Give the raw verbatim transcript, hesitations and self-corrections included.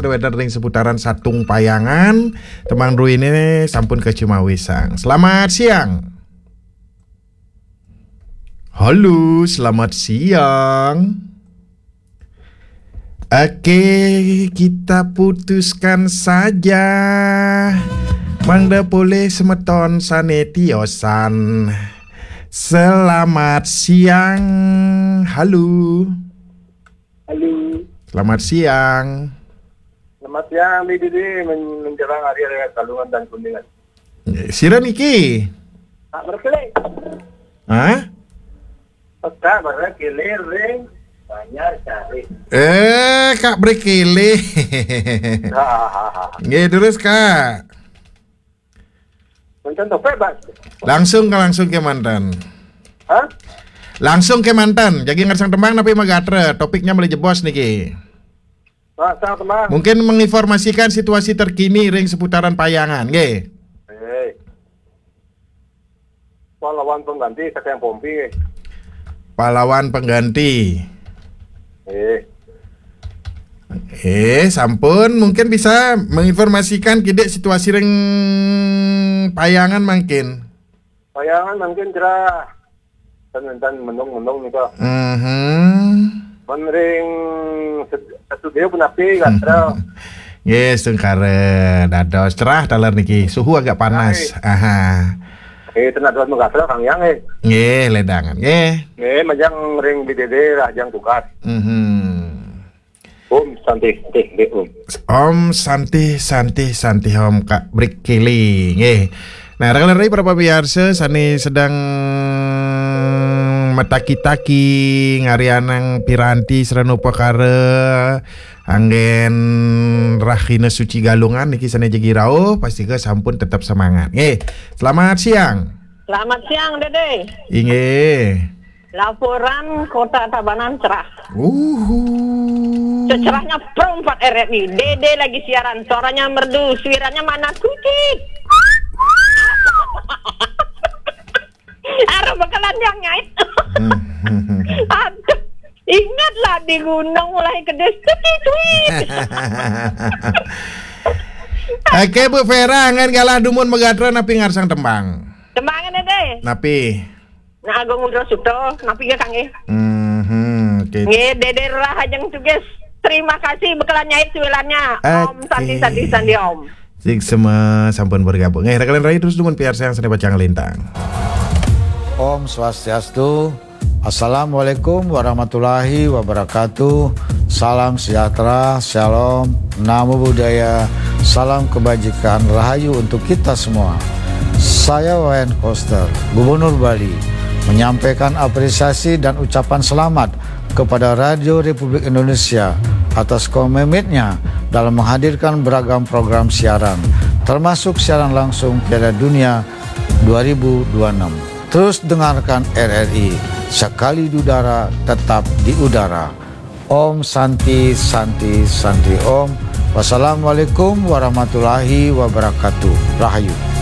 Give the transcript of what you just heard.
Wénten ring seputaran Satung Payangan, tembang druéné sampun kacimawisang. Selamat siang. Halo, selamat siang. Oke, kita putuskan saja. Mangda polih semeton sané tiosan. Selamat siang. Halo. Halo. Selamat siang. Selamat siang, Didi, men- menjelang hari raya Galungan dan Kuningan. Sira niki? Pak Berkeley. Hah? Peka Berkeley ring Banjar Sari. Eh, Kak Brekele. Hahaha. Nggih, terus, Kak. Menten topik, Pak. Langsung ke langsung ke manten. Hah? Langsung ke manten. Jagi ngersang tembang napi magatra. Topiknya malih jebos niki. Pak, sang tembang. Mungkin menginformasikan situasi terkini ring seputaran Payangan, nggih. Eh. Pahlawan pengganti, kata yang pompi. Pahlawan pengganti. Eh. Eh, sampun, mungkin bisa menginformasikan kidik situasi ring Payangan mangkin. Payangan mangkin cerah. Dan, dan mendung-mendung nih, Pak. Mhm. Men ring sed- studio punapi, gatel. Nggih, sungkara dados cerah taler niki. Suhu agak panas. Aha. Eh, tenaga gatel, Kang Yang, eh. Nggih, ledangan. Nggih. Eh, majang ring B D D, Rahajeng tugas. Mhm. Om Santi, Santi, Santi, Om. Om Santi, Santi, Santi Om, Kak Brekele. Nggih. Nah, rekan-rekan para pamiarsa sané sedang mataki-taki ngarianang piranti sarana upakara anggén Rahina Suci Galungan niki sané jagi rauh, pastika sampun tetep semangat. Nggih. Selamat siang. Selamat siang, Dede. Inggih. Laporan Kota Tabanan cerah. Uhu. Secerahnya Pro empat R R I. Dede lagi siaran, suaranya merdu, suiranya mana kucing. Arep bekelan yang ngait. Aduh, ingatlah di gunung mulai kedes, cuci cuit. Oke, Bu Vera, anggén galah dumun magatra napi ngarsang tembang? Tembangan, Dede. Napi? Nah, Agung Udra Suto, napi nggih, Kang, nggih? Mhm, oke. Nggih, Dede Rahajeng tugas. Terima kasih bekelan nyait suilannya. Om Oke. Santi, Santi, Santi, Om. Sik sama sampun bergabung. Eh, rekan rai terus dumun piarsayang sané pacang lintang. Om Swastiastu. Assalamualaikum warahmatullahi wabarakatuh. Salam sejahtera, shalom, namo buddhaya, salam kebajikan, rahayu untuk kita semua. Saya Wayan Koster, Gubernur Bali, menyampaikan apresiasi dan ucapan selamat kepada Radio Republik Indonesia atas komitmennya dalam menghadirkan beragam program siaran, termasuk siaran langsung Piala Dunia dua ribu dua puluh enam. Terus dengarkan R R I, sekali di udara, tetap di udara. Om Santi, Santi, Santi Om. Wassalamualaikum warahmatullahi wabarakatuh. Rahayu.